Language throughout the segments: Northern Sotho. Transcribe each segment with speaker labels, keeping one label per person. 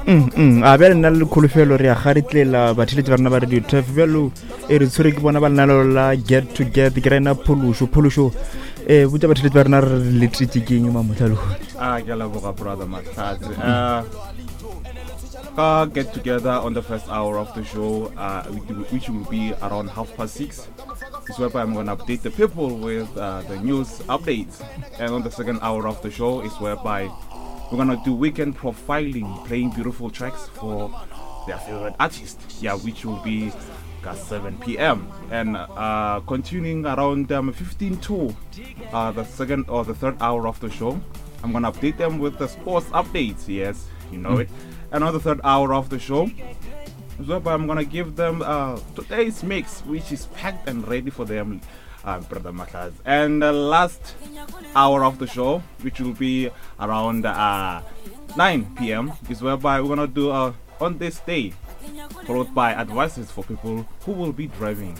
Speaker 1: Mm, mm, a bjale nna le kholofelo re ya garetlela batheletši ba rena ba radio tef bjalo e re tshwere ke bona ba lenalo la get to get ke rena phološo phološo um botša batheletši ba rena re letetše ke eng mamotlha lehono
Speaker 2: a ke a leboga brother mahlatse uh, ka get together on the first hour of the show uh, which will be around half past six is whereby i'm going to update the people with uh, the news updates and on the second hour of the show is whereby we're going to do weekend profiling playing beautiful tracks for their favorite artist yeah which will be at 7 p.m. And uh, continuing around um, 15 to uh, the second or the third hour of the show, I'm gonna update them with the sports updates. Yes, you know mm. it. And on the third hour of the show, so I'm gonna give them uh, today's mix, which is packed and ready for them, uh, Brother Matlaz. And the last hour of the show, which will be around uh, 9 p.m., is whereby we're gonna do uh, on this day, followed by advices for people who will be driving.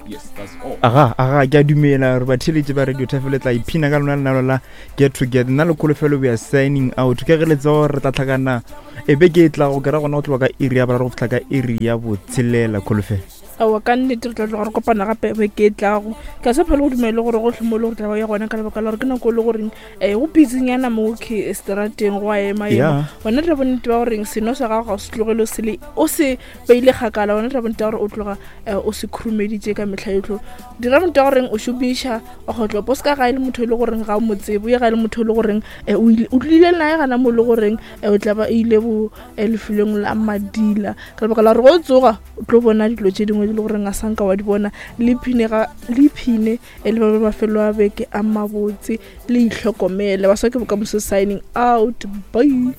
Speaker 2: Yes, that's all.
Speaker 1: Aga, aga, ke a dumela gore batheeletši ba Radio Tafel le tla iphina ka lona lenalo la Get Together. Nna le Kholofelo we are signing out. Ka ge le tseba gore re tla tlhakana e beke e tlago, ke ra gona go tloga ka iri ya boraro go fihla ka iri ya botshelela. Kholofelo.
Speaker 3: Aowa, ka nnete re tla tloga re kopana gape beke e tlago. Ke a sa phele go dumele gore gohle mo e le gore tla ba ya gona ka lebaka la gore ke nako e le goreng um go busynyana mo ke strateng go a ema ema. Wena dira bonnete ba goreng seno sa gago ga o se tlogele o se le o se beile kgakala. Wena dira bonnete ba gore o tloga eh, o se khurumeditše ka mehla yotlhe. Dira bonnete ba goreng o šomiša kgotlopo o se ka ga e le motho e le goreng ga o mo tsebe, o ye ga e le motho e le goreng eh, o ile o tlile naye gana mo e le goreng eh, o tla ba ile bo eh, lefelong la madila ka lebaka la gore go tsoga o tlo bona dilo tše dingwe di le goreng a sanka wa di bona. Le iphine ga le iphine e le ba mafelo a beke a mabotse le itlhokomele. Baswa ke bokamoso signing out. Bye.